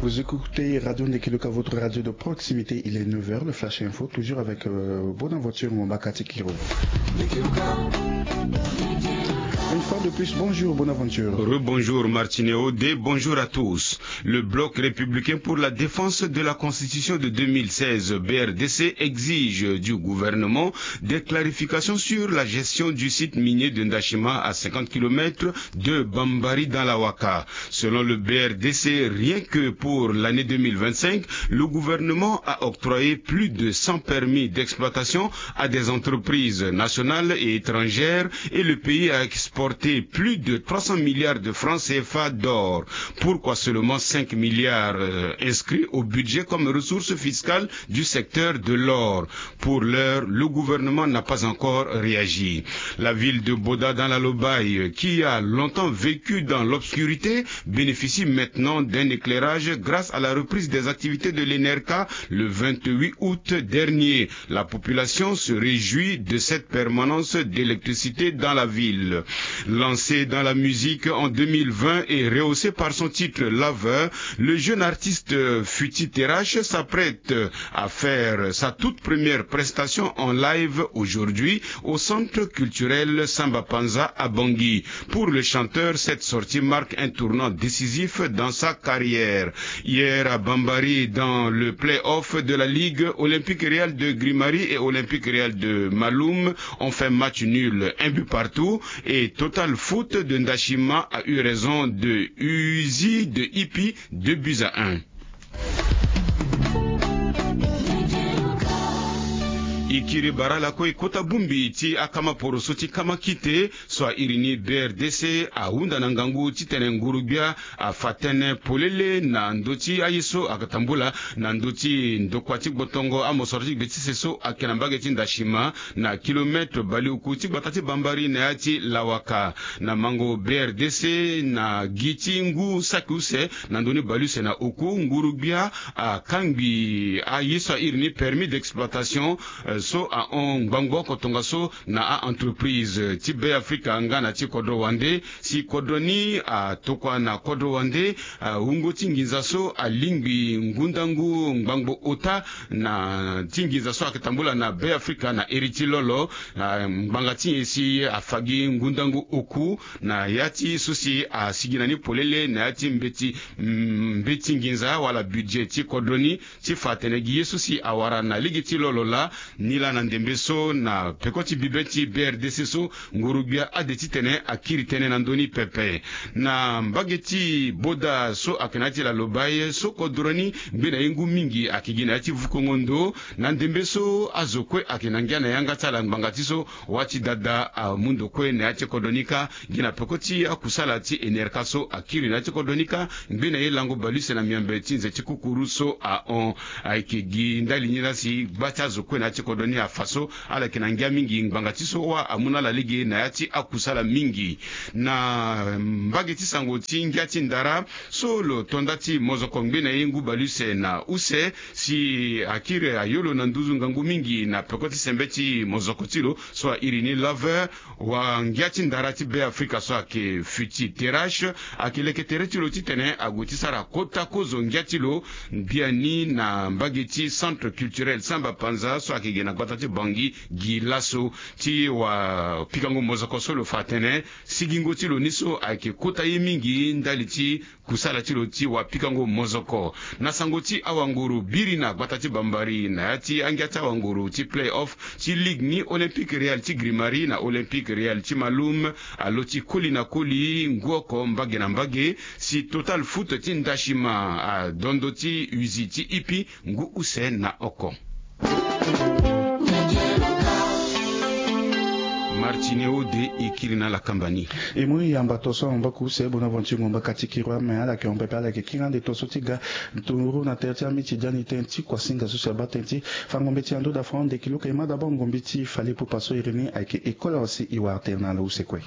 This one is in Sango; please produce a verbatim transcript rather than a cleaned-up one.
Vous écoutez Radio Ndekiluka, votre radio de proximité. Il est neuf heures, le Flash Info, toujours avec euh, Bonaventure Mombaka Tikiro. Une fois de plus, bonjour Bonaventure. Rebonjour Martineau, des bonjour à tous. Le Bloc républicain pour la défense de la Constitution de deux mille seize, B R D C, exige du gouvernement des clarifications sur la gestion du site minier de Ndashima, à cinquante kilomètres de Bambari, dans la Waka. Selon le B R D C, rien que pour l'année deux mille vingt-cinq, le gouvernement a octroyé plus de cent permis d'exploitation à des entreprises nationales et étrangères et le pays a exporté plus de trois cents milliards de francs C F A d'or. Pourquoi seulement cinq milliards, euh, inscrits au budget comme ressource fiscale du secteur de l'or ? Pour l'heure, le gouvernement n'a pas encore réagi. La ville de Boda, dans la Lobaye, qui a longtemps vécu dans l'obscurité, bénéficie maintenant d'un éclairage grâce à la reprise des activités de l'ENERCA le vingt-huit août dernier. La population se réjouit de cette permanence d'électricité dans la ville. Lancé dans la musique en deux mille vingt et rehaussé par son titre Lover, le jeune artiste Futi Terrache s'apprête à faire sa toute première prestation en live aujourd'hui au centre culturel Samba Panza à Bangui. Pour le chanteur, cette sortie marque un tournant décisif dans sa carrière. Hier à Bambari, dans le play-off de la Ligue, Olympique Real de Grimari et Olympique Real de Maloum ont fait match nul, un but partout, et Total Foot de Ndashima a eu raison de Uzi de Ipi, deux buts à un. E kiri bara lakue kota bongbi ti akama poroso ti kama kite so a iri ni B R D C ahunda na ngangu titene nguru-gbia afa tënë polele na ndö ti aye so ayeke tambula na ndö ti ndokua ti gbotongo amosoro ti gbe ti se so ayeke na mbage ti Ndashima, na kilometre baleoku ti gbata ti Bambari na ya ti Lawaka. Na mango B R D C, na gi ti ngu saki use na ndö ni baleuse na oku, nguru-gbia akangbi aye so a iri ni permis d'exploitation, eh, so ahon ngbangbo oko tongaso na a-entreprise ti Be Afrika nga na ti kodro wande, si kodro ni atokua na kodro wande, ah, wungo ti nginza so alingbi ngundangu ngbangbo ota na ti nginza so ayeke tambula na Be Afrika na iri ti lolo. Ah, ngbanga ti nyen si afa gi ngundangu oku na ya ti so si asigi na ni polele na ya ti mbeti, mm, mbeti nginza wala budget ti kodro ni, ti fa atene gi ye so si awara na lege ti lo lo laa, ni laa na ndembe so na peko ti bibe ti B R D C so, nguru-gbia ade titene akiri tënë na ndö ni pepe. Na mbage ti Boda so ayeke na ya ti Lalobaye so kodro ni ngbe na ye ngu mingi ayeke gi na ya ti vukongo ndo, na ndembe so azo kue ayeke na ngia na yanga ti ala ngbanga ti so, wâ ti dada amu ndo kue na ya ti kodro ni kâ. Gi na peko ti akusala ti enerka so akiri na ya ti kodro ni kâ, ngbe na ye lango baleuse na miombe ti nze ti kukuru so ahon. Ayeke gi ndali ni laa si gba ti azo kue na ya ti kodro ni afa so ala yeke na ngia mingi ngbanga ti so wâ amu na ala lege na ya ti akusala mingi. Na mbage ti sango ti ngia ti ndara so lo to nda ti mozoko ngbe na ye ngu baleuse na use si akiri ayo lo na nduzu ngangu mingi na peko ti sembe ti mozoko ti lo so a iri ni Lover. Wangia ti ndara ti Be Afrika so ayeke Futi Terrache ayeke leke tere ti lo titene ague ti sara kota kozo ngia ti lo biani na mbage ti Centre Culturel Samba Panza so ayeke ge na gbata ti Bangui gi laso. Ti wapikango mozoko so lo fa atene sigingo ti lo ni so ayeke kota ye mingi ndali ti kusala ti lo ti wapikango mozoko. Na sango ti awanguru biri na gbata ti Bambari na ya ti angia ti awanguru ti play-off ti ligue ni, Olympique Real ti Grimari na Olympique Real ti Maloum alo ti koli na koli ngu oko mbage na mbage, si Total Foot ti Ndashima adondo ti Uzi ti Ipi ngu use na oko. Martineo de e kiri na ala kamba ni. E mu yamba to so ahon mbaku use Bonaventure Ngomba Kati Kirua, me ala yeke hon pepe, ala yeke kiri ande to so ti ga nduru na tere ti amitidiani tënë ti kuasinga so si abaa tënë ti fango mbeti ando da fran nde kiluka. E ma d'abord ngombi ti fale pupa so iri ni ayeke école aussi e wara tënë na ala use kue.